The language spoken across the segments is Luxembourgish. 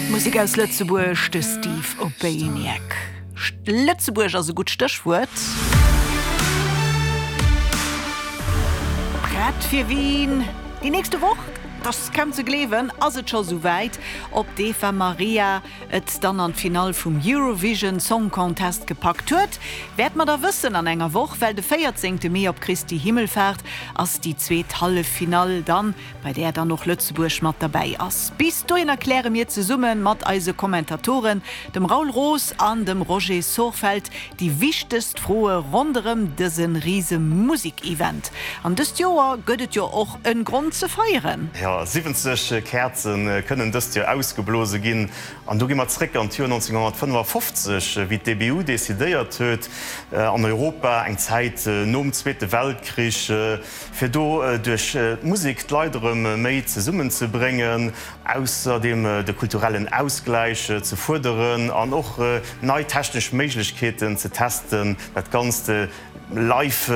Musek aus Lëtzebuerg, de Steve Obaniak. Lëtzebuerg ass e gutt Stéchwuert. Prett fir Wien? Déi nächste Woch, et ass kaum ze gleewen, ass et scho souwäit. Ob d'Eva Marija et dann an d'Finall vum Eurovision Song Contest gepackt huet, wäert mer da wëssen an enger Woch, well de 14 Mee op Christi Himmelfahrt ass déi zweet Halleffinall dann, bei där dann och Lëtzebuerg mat derbäi ass. Bis dohinner kläre mir zesumme mat eise Kommentatoren, dem Raoul Roos an dem Roger Sorfeld, déi wichtegst Froe ronderëm dëse rise Musek-Event. An dëst Joer gëtt et jo och en Grond ze feieren. Jo, 70 Käerze kënnen dëst Joer ausgeblose ginn. An do gi mer zréck an d'Joer 1955, wéi d'EBU decidéiert huet, an Europa, eng Zäit nom Zweete Weltkrich, fir do duerch d'Musek d'Leit erëm méi zesummenzebréngen, ausserdeem de kulturellen Ausgläich ze fuerderen an och nei technesch Méiglechkeeten ze testen, dat Ganzt live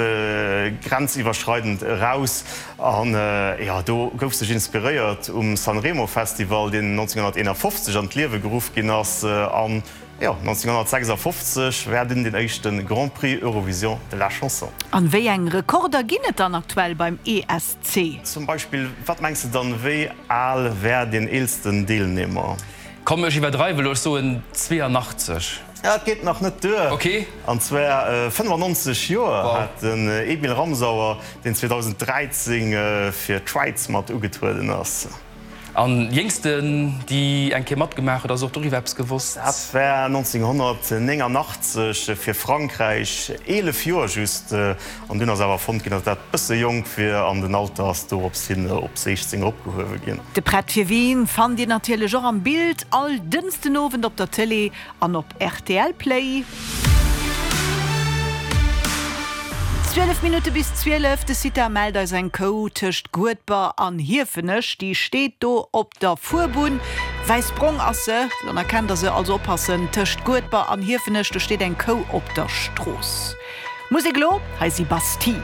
grenziwwerschreidend eraus. An jo, do gouf sech inspiréiert um Sanremo Festival, deen 1951 an d'Liewe geruff ginn ass. An jo, 1956 war dunn den éischte Grand Prix Eurovision de la Chanson. An wéi eng Rekorder ginn et dann aktuell beim ESC? Zum Beispill, wat mengs de dann, wéi al war deen eelsten Deelnehmer? Komm, ech iwwerdreiwe lo, ech soen 82. Ja, et geet nach net duer. Ok. An zwar 95 Joer hat den Emil Ramsauer, deen 2013 fir d'Schwäiz mat ugetrueden ass. An jéngsten déi eng Kéier matgemaach huet, ass och doriwwer eppes gewosst? Dat war 1989 fir Frankräich, 11 Joer just. An dunn ass awer fonnt ginn, datt dat bësse jonk wier an den Alter ass dorops hin op 16 eropgehuewe ginn. De Prett fir Wien fannt Dir natierlech och am Bild all Dënschdenowend op der Tëlee An op rtl Play. 12 Minutte bis 12, de Cita mellt eis eng Kou tëscht Guedber an Hiefenech. Déi steet do op der Fuerbunn. Wäissbrong ass se, dann erkennt der se. Also oppassen, tëscht Guedber an Hiefenech, do steet eng Kou op der Strooss. Musek elo, hei si Bastille.